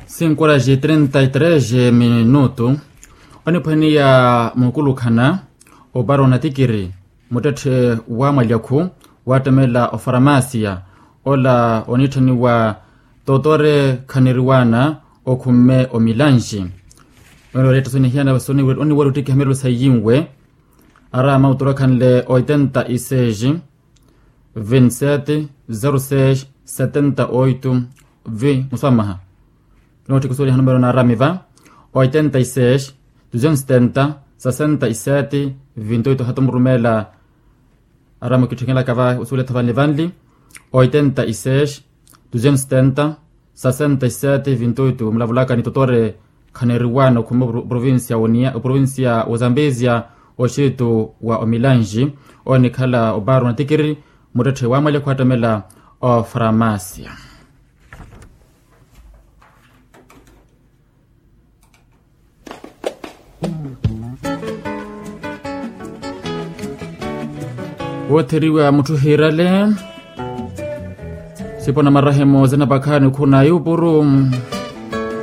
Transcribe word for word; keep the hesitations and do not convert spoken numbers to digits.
Cinco horas e trinta e três minuto. Oniphwaniya mukulukhana opara onatikiri muttetthe wa mwalyakhu wattemela ofaramasia ola onitthaniwa totore khaniriwana okhumme omilanxi. Oniwara ottikha hamirelo saiyinwe arama oturakhanle oitenta e seis vinte e sete zero seis setenta oito vi muswamaha. Nootthikisoliha numero naarami va oitenta e seis duzentos setenta sessenta e sete vinte oito hata murumeela. Arama okitthekelaka va osuuletha vanli vanli oitenta e seis duzentos setenta sessenta e sete vinte oito mulavulaka ni totore khaneriwana okhuma oprovincia wa zambezia oxitu wa omilanji onikhala obaru natikiri muttetthe wa mwalya khwattamela ofaramasia. Wootheriwa mutthu hiirale sipo na marahemo zinapakhani khuna yupuru.